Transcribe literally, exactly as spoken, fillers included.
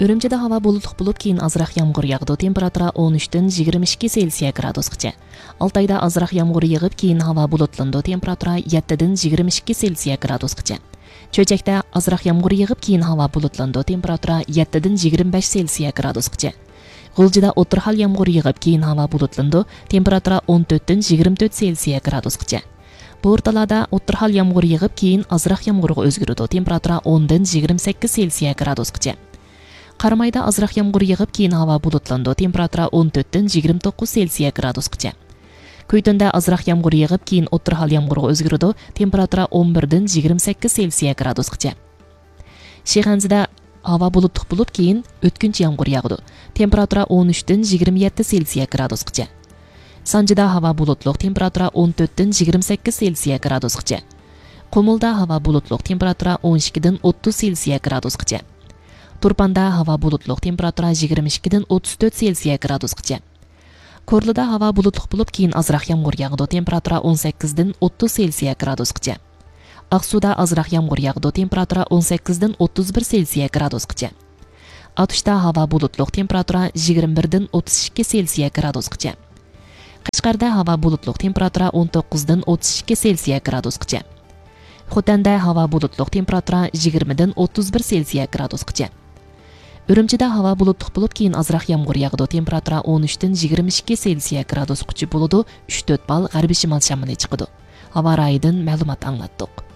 ئۈرۈمچىدە ھاۋا بۇلۇتلۇق بولۇپ، كېيىن ئازراق يامغۇر ياغىدۇ، تېمپېراتۇرا ئون ئۈچتىن يىگىرمە ئىككى سېلسىيە گرادۇسقىچە. ئالتايدا ئازراق يامغۇر يېغىپ، كېيىن ھاۋا بۇلۇتلىنىدۇ، تېمپېراتۇرا يەتتىدىن يىگىرمە ئىككى سېلسىيە گرادۇسقىچە. چۆچەكتە ئازراق يامغۇر يېغىپ، كېيىن ھاۋا بۇلۇتلىنىدۇ، تېمپېراتۇرا يەتتىدىن يىگىرمە بەش سېلسىيە گرادۇسقىچە. غۇلجىدا ئوتتۇرا ھال يامغۇر يېغىپ، كېيىن ھاۋا بۇلۇتلىنىدۇ، تېمپېراتۇرا ئون تۆتتىن يىگىرمە تۆت سېلسىيە گرادۇسقىچە. بورتالادا ئوتتۇرا ھال يامغۇر يېغىپ، كېيىن ئازراق يامغۇرغا ئۆزگىرىدۇ، تېمپېراتۇرا ئوندىن يىگىرمە سەككىز سېلسىيە گرادۇسقىچە. قارامايدا ئازراق يامغۇر يېغىپ، كېيىن ھاۋا بۇلۇتلىنىدۇ، تېمپېراتۇرا ئون تۆتتىن يىگىرمە توققۇز سېلسىيە گرادۇسقىچە. كۈيتۈندە ئازراق يامغۇر يېغىپ، كېيىن ئوتتۇرا ھال يامغۇرغا ئۆزگىرىدۇ، تېمپېراتۇرا ئون بىردىن يىگىرمە سەككىز سېلسىيە گرادۇسقىچە. شىخەنزىدە ھاۋا بۇلۇتلۇق بولۇپ، كېيىن ئۆتكۈنچى يامغۇر ياغىدۇ، تېمپېراتۇرا ئون ئۈچتىن يىگىرمە يەتتە سېلسىيە گرادۇسقىچە. سانجىدا ھاۋا بۇلۇتلۇق، تېمپېراتۇرا ئون تۆتتىن يىگىرمە سەككىز سېلسىيە گرادۇسقىچە. قۇمۇلدا ھاۋا بۇلۇتلۇق، تېمپېراتۇرا ئون ئىككىدىن ئوتتۇز سېلسىيە گرادۇسقىچە. تۇرپاندا ھاۋا بۇلۇتلۇق، تېمپېراتۇرا يىگىرمە ئىككىدىن ئوتتۇز تۆت سېلسىيە گرادۇسقىچە. كورلىدا ھاۋا بۇلۇتلۇق بولۇپ، كېيىن ئازراق يامغۇر ياغىدۇ، تېمپېراتۇرا ئون سەككىزدىن ئوتتۇز سېلسىيە گرادۇسقىچە. ئاقسۇدا ئازراق يامغۇر ياغىدۇ، تېمپېراتۇرا ئون سەككىزدىن ئوتتۇز بىر سېلسىيە گرادۇسقىچە. ئاتۇشتا ھاۋا بۇلۇتلۇق، تېمپېراتۇرا يىگىرمە بىردىن ئوتتۇز ئىككى سېلسىيە گرادۇسقىچە. قەشقەردە ھاۋا بۇلۇتلۇق، تېمپېراتۇرا ئون توققۇزدىن ئوتتۇز ئىككى سېلسىيە گرادۇسقىچە. خوتەندە ھاۋا بۇلۇتلۇق، تېمپېراتۇرا يىگىرمىدىن ئوتتۇز بىر سېلسىيە گرادۇسقىچە. ئۈرۈمچىدە ھاۋا بۇلۇتلۇق بولۇپ، كېيىن ئازراق يامغۇر ياغىدۇ، تېمپېراتۇرا ئون ئۈچتىن يىگىرمە ئىككى سېلسىيە گرادۇسقىچە بولىدۇ، ئۈچ تۆت بال غەربىي شىمال شامىلى چىقىدۇ. ھاۋا رايىدىن مەلۇمات ئاڭلاتتۇق.